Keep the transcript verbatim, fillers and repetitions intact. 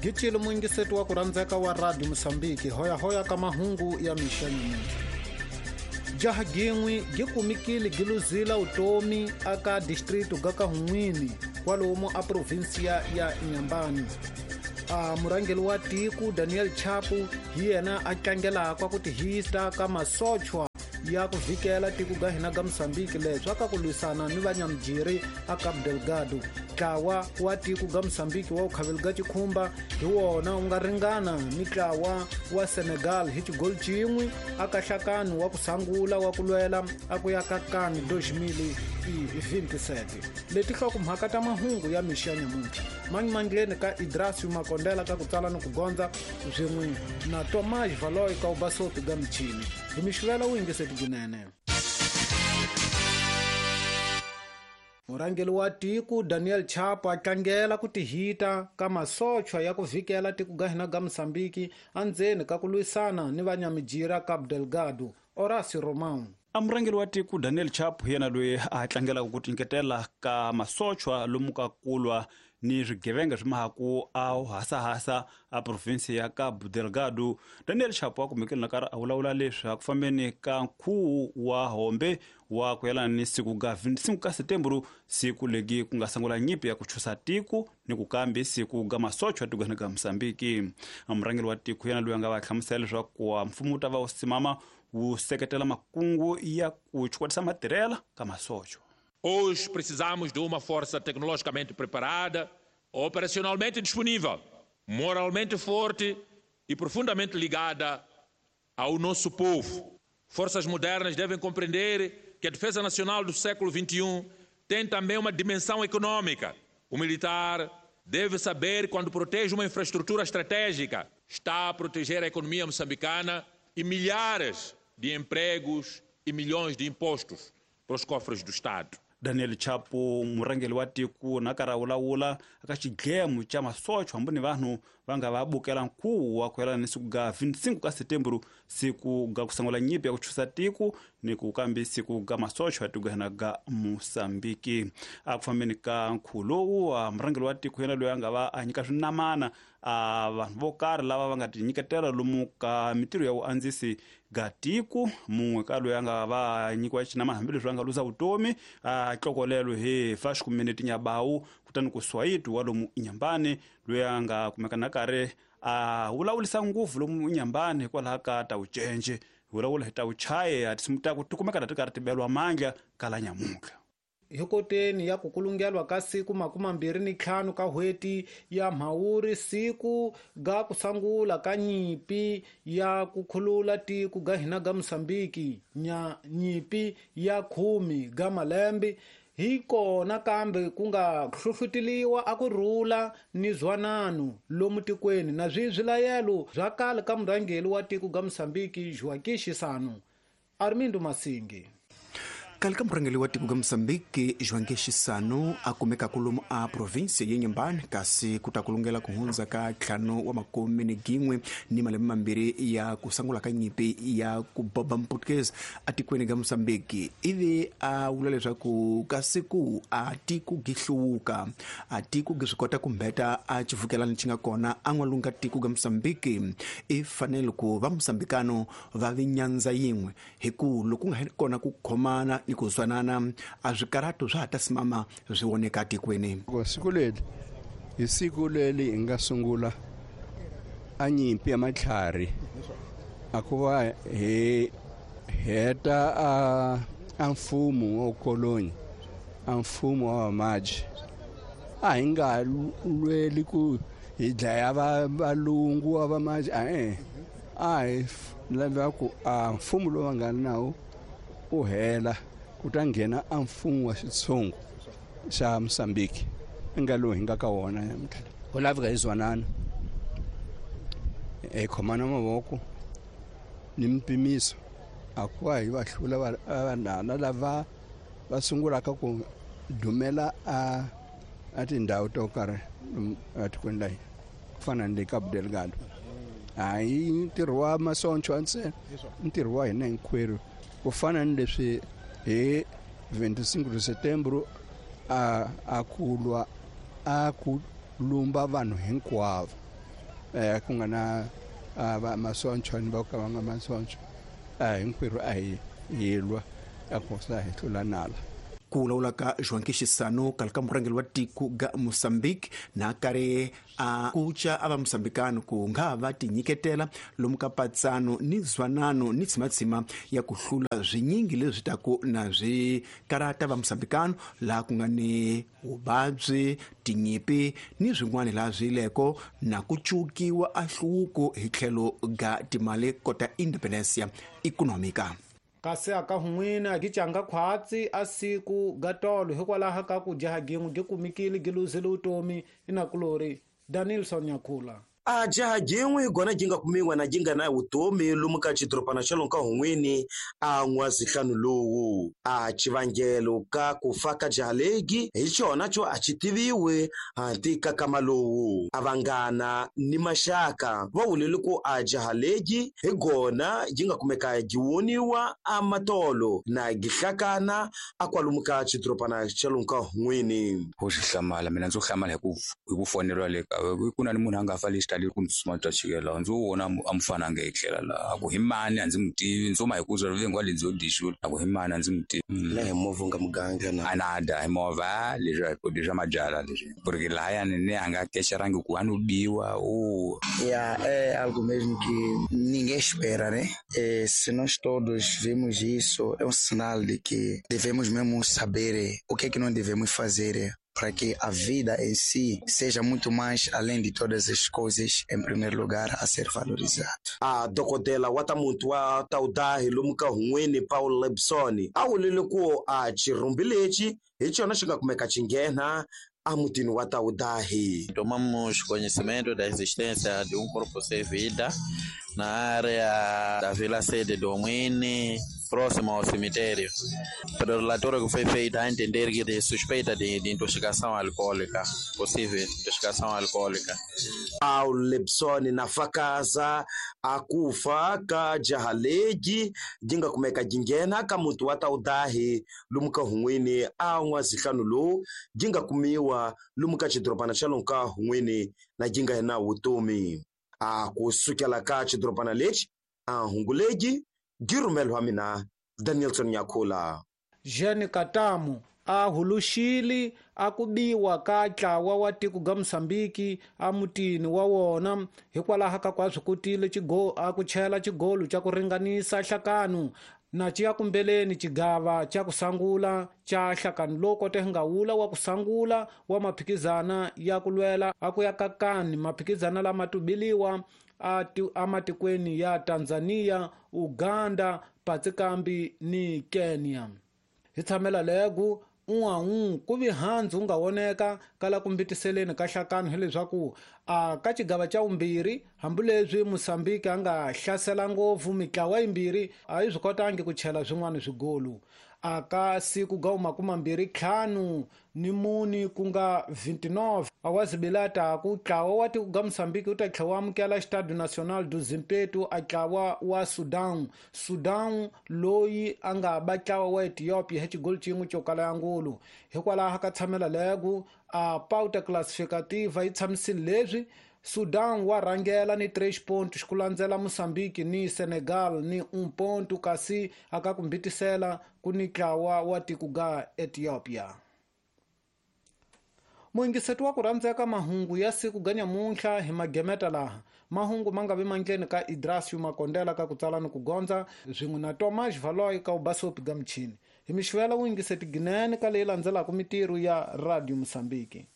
Gicile muyingiseti wa ku rhandzeka wa Radio Mosambiki, hoyahoya ka mahungu ya mixa nyamuntlha. Jaha gin'we gi kumikile gi luzila utomi aka distrito ga ka Hun'wini kwalomu a provinsia ya Inhambane. A murhangeri wa tiko Daniel Chapo hi yena a tlangelaka ku tihisa ka masochwa ya ku vhikela tiko ga hina ga Mosambiki leswi ka ku lwisana ni vanyamujiri a Cabo Delgado. Ntlawa wa tiko ga Mosambiki wa vukhaveli ga Chikhumba hi wona wu nga ringana ni ntlawa wa Senegal hi xigoli xin'we aka nhlakano wa ku sangula wa ku lwela a ku ya ka CAN dois mil e vinte e sete. Leti nhlokomhaka ta mahungu ya mixa ya nyamuntlha mangimangileni ka Idrasio Makondela ka ku tsala ni ku gondza swin'we na Tomás Valoy ka ubasopi ga michini. Hi mixivela wu yingiseti kunene. Murhangeri wa tiko Daniel Chapo a tlangela ku tihita ka masochwa ya ku vhikela tiko ga hina ga Mosambiki endzeni ka ku lwisana ni vanyamijira Cabo Delgado. Horacio Romão. A murhangeri wa tiko Daniel Chapo hi yena loyi a tlangelaka ku tinyiketela ka masochwa lomu ka kulwa ni swigevenga swi mahaku a hasahasa a provinsi ya Cabo Delgado. Daniel Chapo a kumekile na karhi a vulavula leswi a ku fambeni ka nkhuvo wa hombe wa ku yelana ni siku ga vinte e cinco ka setembro, siku legi ku nga sungula nyimpi ya ku chusa tiko ni ku kambe siku ga masochwa tikweni ga Mosambiki. A murhangeri wa tiko yena loyi a nga va hlamusela leswaku mfumo wu ta va wu simama wu seketela makungu ya ku chukwatisa matirhela ka masochwa. Hoje precisamos de uma força tecnologicamente preparada, operacionalmente disponível, moralmente forte e profundamente ligada ao nosso povo. Forças modernas devem compreender que a defesa nacional do século vinte e um tem também uma dimensão econômica. O militar deve saber, quando protege uma infraestrutura estratégica, está a proteger a economia moçambicana e milhares de empregos e milhões de impostos para os cofres do Estado. Daniel Chapo murhangeri wa tiko na karhi a vulavula aka xidlemo xa masochwa hambi ni vanhu va nga va bukela nkhuvo wa ku yelana ni siku ga vinte e cinco ka setembro, siku ga ku sungula nyimpi ya ku chusa tiko ni ku kambe siku ga masochwa tiko hina ga Mosambiki. A ku fambeni ka nkhuvo lowu, murhangeri wa tiko yena loyi a nga va a nyika swinamana a vanhu vo karhi lava va nga tinyiketela lomu ka mitirho ya vuandzisi ga tiko. Mun'we ka loyi a nga va nyikiwa xinamana hambileswi a nga luza vutomi a tlokolelo hi Vasco Menete Nyabawu, kutani ku Swayiti wa lomu Inhambane loyi a nga kumeka na karhi a vulavulisa ngopfu lomu Inhambane hikwalaho ka ta vucence, vulavula hi ta vuchaye a tinsimu ta ku ti kumeka na ti karhi ti beliwa mandla kala nyamuntlha. Hi koteni ya ku kulungelwa ka siku makumi mambirhi ni ntlhanu ka n'hweti ya Mhawuri, siku ga ku sungula ka nyimpi ya ku khulula tiko ga hina ga Mosambiki, nya nyimpi ya khume ga malembe hi kona kambe ku nga hlohloteliwa a ku rhula ni zwanano lomu tikweni na swilayelo bya kale ka murhangeri wa tiko ga Mosambiki Joaquim Chissano. Armindo Masingi. Kale ka murhangeri wa tiko ga Mosambiki Joaquim Chissano a kumeka kolomu a provinsi ya Inhambane, kasi ku ta kulungela ku hundza ka ntlhanu wa makume ni gin'we ni malembe mambirhi ya ku sungula ka nyimpi ya ku boba Mportuguese atikweni ga Mosambiki. Ivi a vula leswaku ka siku a tiko gi hluvuka, a tiko gi swi kota ku mbeta a xivukelani xi nga kona a n'walunga tiko ga Mosambiki. I fanele ku va Mosambikano va vi nyandza yin'we, hi ku loko ku nga kona ku khomana ni ku zwanana a swikarato swa ha ta simama swi voneka tikweni. Siku leri hi siku leri hi nga sungula a nyimpi ya matlhari a ku va hi heta a a mfumo wa koloni, a mfumo wa vamaji. A hi nga lweli ku hi dlaya valungu wa vamaji, a a hi lava ku a mfumo lowu va nga nawo u hela ku ta nghena a mfumo wa xitshungu xa Mosambiki nga lowu hi nga ka wona namuntlha. Ku laveka hi zwanana, hi khomana mavoko ni mpimiso a ku va hi va hlula vanhana lava va sungulaka ku dumela a a tindhawu to karhi etikweni la hina ku fana ni le Cabo Delgado. A hi ntirho wa masonchwa ntsena, ntirho wa hina hinkwerhu ku fana ni leswi hi vinte e cinco de setembro a a ku lwa a ku lumba vanhu hinkwavo. eh ku nga na va masoncho ni va ka va nga masoncho a hinkwerhu a hi hi lwa a ku sa hi hlula nala. Ku vulavula ka João Chissano kala ka murhangeri wa tiko ga Mozambique na karhi a kuca a va Mozambikano ku nga va tinyiketela lomu ka patsano ni zwanano ni tsimatsima ya ku hlula swinyingi leswi taku na swi karata va Mozambikano laha ku nga ni vuvabyi, tinyipi ni swin'wana laha swi leko na ku cukiwa a hluvuko hi tlhelo ga timali kota independencia econômica. Kasi aka hun'wini a gicanga khwatsi a siku ga tolo hikwalaho ka ku jaha gin'we gi kumikile gi luzile vutomi inakulori Danielson Nyakhula. A jaha gin'we gona gi nga kumiwa na gi nga na vutomi lomu ka xidorobana xa lomu ka hun'wini a n'wazihlanu lowu. A xivangelo ka ku fa ka jaha legi hi xona xo a xi tiviwi hanti ka kama lowu. A vanghana ni maxaka va vulele ku a jaha legi hi gona gi nga kumeka gi woniwa a matolo na gi hlakana a kwalomu ka xidorobana xa lomu ka hun'wini. Ho xi hlamala mina ndzo hlamala hi ku hi ku foneriwa le ka ku na ni munhu a nga fa le xitali ku ndzi suma twa chikela ndzo vona a mufana a nga etlela laha a ku hi mani a ndzi mu tivi ndzo ma hi ku zwa vengwa le ndzo dixula a ku hi mani a ndzi mu tivi na hi movha nga muganga na a na da hi movha leswi leswi swa mabyala leswi porque lahayani ni a nga kexerangi ku a no biwa o Yeah, é algo mesmo que ninguém espera, né? É, se nós todos vemos isso, é um sinal de que devemos mesmo saber o que é que não devemos fazer para que a vida em si seja muito mais além de todas as coisas, em primeiro lugar, a ser valorizado. A dokodela wa ta muntu wa taudahi lomu ka hun'wini Paul Lebson a vulile ku a xirhumbi lexi hi xona xi nga kumeka xi nghena a mutini wa Taudahi. Tomamos conhecimento da existência de um corpo sem vida na área da Vila Sede do Omwene, próximo ao cemitério. Pelo relatório que foi feito, a entender que de suspeita de, de intoxicação alcoólica, possível intoxicação alcoólica. Paul Lebson na fakaza akufa ka jaha legi gi nga kumeka gi nghena ka muti wa Taudahi lomu ka hun'wini a n'wazihlanu lowu gi nga kumiwa lomu ka xidorobana xa lomu ka hun'wini na gi nga na vutomi. A ku sukela ka xidorobana lexi a hungu legi gi rhumeliwa mina Danielson Nyakhula. Jean Katamu a huluxile a ku biwa ka ntlawa wa tiko ga Mozambique a mutini wa wona hikwalaho ka ku a swi kotile chigo a ku chela xigolo xa ku ringanisa nhlakano na ciya kumbeleni xigava xa ku sangula xa nhlakano lowu kote nga wula wa ku sangula wa maphikizana ya ku lwela a ku ya kakani maphikizana lama tubiliwa a amatikweni ya Tanzania, Uganda, Patsikambi ni Kenya. Hi tshamela legu un'wan'un ku vi handzu wu nga voneka kala ku mbitiseleni ka nhlakano hileswaku a ka xigava xa vumbirhi hambileswi Mozambique a nga hlasela ngopfu mitlawa yimbirhi a yi swi kotangi ku chela swin'wana swigolo. A ka siku ga makumambirhi ntlhanu ni muni ku nga vinte e nove a wa zibilata ku ntlawa wa tiko ga Mozambique wu ta tlhela wu amukela Estádio Nacional do Zimpeto a ntlawa wa Sudan. Sudan loyi a nga ba ntlawa wa Ethiopia hi xigolo xin'we xo kala ya ngulu. Hikwalaho ka tshamela legu a pauta classificativa yi tshamisile leswi Sudan wa rhangela ni três pontos ku landzela Mozambique ni Senegal ni um ponto kasi aka ku mbitisela ku ni ntlawa wa tiko ga Ethiopia. Muyingiseti wa ku rhandzeka mahungu ya siku ga nyamuntlha hi magemeta laha mahungu ma nga vi mandleni ka Idrasio Makondela ka ku tsala ni ku gondza swin'we na Tomas Valoy ka ubasopi ga michini. Hi mixivela wuyingiseti ginene ka leyi landzelaka mitirho ya Radio Mozambique.